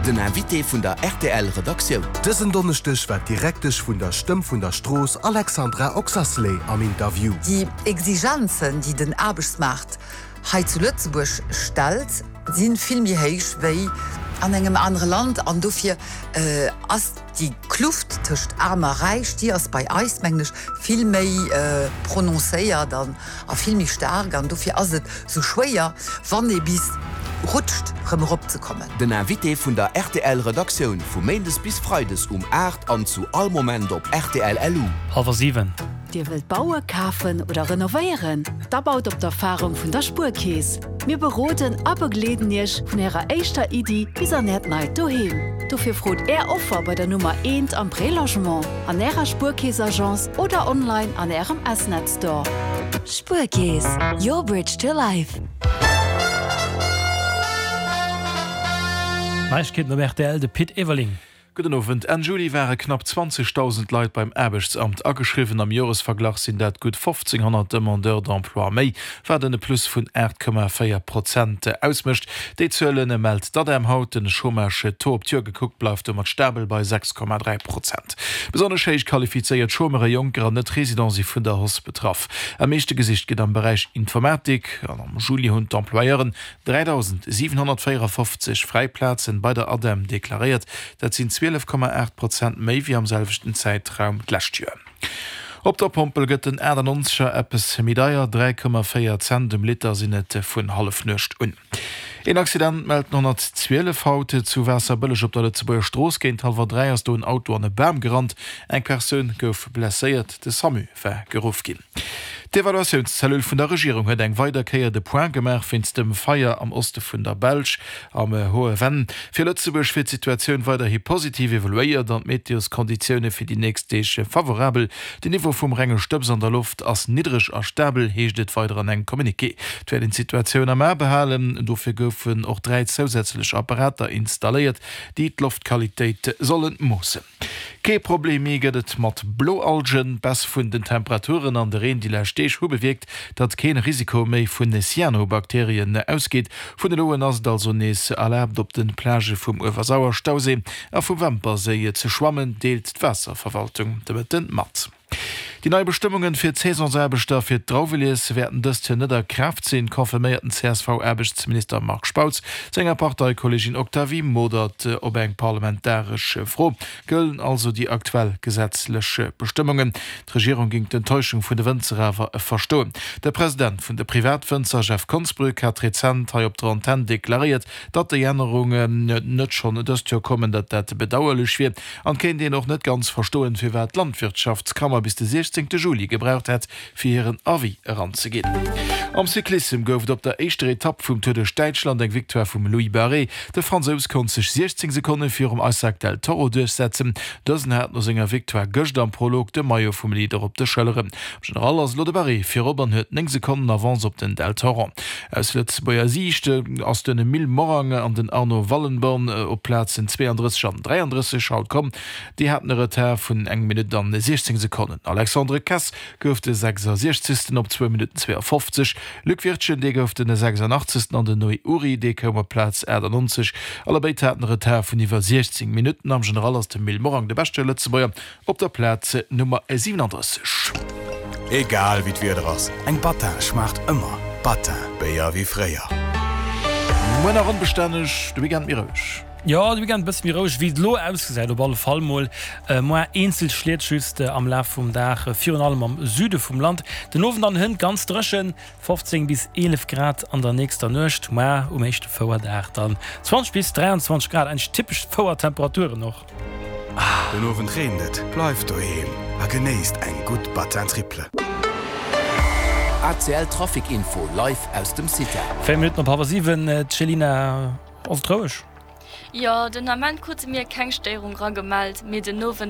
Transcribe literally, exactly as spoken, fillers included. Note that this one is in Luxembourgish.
Den Invité vun der R T L Redaktioun. Dësen Donneschdeg war d'Direktesch vun der Stëmm vun der Strooss Alexandra Oxacelay am Interview. Déi Exigenzen, déi den Aarbechtsmaart hei zu Lëtzebuerg stellt, si vill méi héich wéi an engem anere Land an dofir äh, ass déi Kluft tëscht Aarm a Räich, déi ass bei eis mengen ech vill méi äh, prononcéiert dann a vill méi staark an dofir ass et sou schwéier, wann ee bis rutscht rëm eropzekommen. Den Invité vun der R T L Redaktioun vu Méindes bis Freides um aacht an zu all Moment op R T L L U. Hallwer siwen. Dir wëllt baue, kafen oder renovéieren? Da baut op d'Erfarung vun der Spuerkeess. Mir beroden a begleeden Iech vun Ärer éischter Iddi bis an Äert neit Doheem. Dofir frot Är Offer bei der Nummer eent am Prélogement, an Ärer Spuerkeess-Agence oder online an Ärem S-Net Store. Spuerkeess, your bridge to life. Neiegkeeten op R T L, de Pit Everling. Gudden Owend. Enn Juli ware knapp zwanzegdausend Leit beim Aarbechtsamt ageschriwwen. Am Joresverglach sinn dat gutt fofzénghonnert Demandeurs d'emploi méi, wat en Plus vun aacht Komma véier Prozent ausmécht. Déi Zuele mellt d'ADEM haut. Den Chômage-Taux op d'Joer gekuckt bleift domat stabel bei sechs Komma dräi Prozent. Besonnesch héich qualifizéiert Chômeuren, Jonker an Net-Residenten si vun der Hausse betraff. Am meeschte gesicht gëtt am Beräich Informatik an am Juli hunn d'Employeuren dräidausendsiwenhonnertvéierefofzeg fräi Plazen bei der ADEM deklaréiert. Dat sinn zwielef Komma aacht Prozent méi wéi am selwechten Zäitraum d'lescht Joer. Op der Pompel gëtt den achtannonzeger eppes méi deier, dräi Komma véier Cent um Liter sinn et vun Hallefnuecht un. Een Accident mellt den honnertzwielef haut zu Waasserbëlleg op der Lëtzebuerger Strooss. Géint hallwer dräi ass do en Auto an e Bam gerannt. Eng Persoun gouf blesséiert, de SAMU war geruff ginn. D'Evaluatiounscellule vun der Regierung huet eng weider Kéier de Point gemaach wéinst dem Feier am Oste vun der Belsch am Hohe Venn. Fir Lëtzebuerg wier d'Situatioun weiderhi positiv evaluéiert an d'Meteoskonditioune fir déi nächst Deeg favorabel. Den Niveau vum renge Stëbs an der Loft ass niddreg a stabel, heescht et weider an engem Communiqué. Et wäert een d'Situatioun am A behalen, dofir goufen och dräi zousätzlech Apparater installéiert, déi d'Loftqualitéit solle moossen. Kee Problem méi gëtt et mat Bloalgen. D'Baisse vun den Temperaturen an de Reen déi lescht Deeg hu bewierkt, datt kee Risiko méi vun Cyanobakterien ausgeet. Vun elo un ass et also nees erlaabt op de Plagë vum Uewersauer-Stauséi a vum Wämperséi ze schwammen, deelt d'Waasserverwaltung de Mëtten mat. Déi nei Bestëmmunge fir d'Saisonsaarbechter fir d'Drauwelies wäerten dëst Joer net a Kraaft sinn, confirméiert den C S V-Aarbechtsminister Marc Spautz senger Parteikolleegin Octavie Modert op eng parlamentaresch Fro. Gëllen also déi aktuell gesetzlech Bestëmmungen. D'Regierung géing d'Enttäuschung vun de Wënzer awer verstoen. De President vun de Privatwënzer Jeff Konsbrück hat rezent hei op der Antenn deklaréiert, datt déi Ännerungen net schonn dëst Joer kommen, datt dat bedauerlech wier an kéint een och net ganz verstoen, firwat d'Landwirtschaftskammer bis de siechzéngte Juli gebraucht hätt, fir hiren Avis eranzeginn. Am Cyclissem gouf et op der éischter Etapp vum Tour duerch Däitschland eng Victoire vum Louis Barré. De Fransous konnt sech siechzéng Sekonne virum Isaac Del Toro duerchsetzen. Dësen hat no senger Victoire gëscht am Prolog de Maillot vum Leader op de Schëlleren. Am General ass elo de Barré virop an huet néng Sekonnen Avance op den Del Toro. Aus Lëtzebuerger Siicht ass den Emile Morang an den Arno Wallenborn op Plazen zweeandrësseg an dräiandrësseg haut komm. Déi haten e Retard vun eng Minutt an siechzéng Sekonnen. Alexandre Kess gouf de sechsasiechzegsten op zwou Minutten zweeafofzeg. Luc Wirtgen, dee gouf den sechsanachtzegsten an den Noé Uri, dee koum op Plaz aachtannonzeg. Allebéid haten e Retard vun iwwer siechzéng Minutten. Am General ass de Emile Morang de beschte Lëtzebuerger op der Plaz Nummer siwenandrësseg. Egal wéi d'Wieder ass, eng Battin schmaacht ëmmer. Battin, Béier wéi fréier. Muer nach onbestänneg, de Weekend méi roueg. Jo, de Weekend bësse méi roueg, wéi et elo ausgesäit op alle Fall mol. Muer eenzel Schliet just am Laf vum Dag, virun allem am Süde vum Land. Den Owend an hënt ganz dréchen, fofzéng bis eelef Grad an der nächster Nuecht. Muer um éischte Fouerdag dann zwanzeg bis dräianzwanzeg Grad, eigentlech typesch Fouertemperaturen och. Den Owend reent et, bleift doheem a genéisst eng gutt Battin Triple. A C L Trafic Info live aus dem CITA. Véier Minutten op hallwer siwen, Céline, ass et roueg? Jo, den Ament krute mir keng Stéierung ragemellt, mee den Owend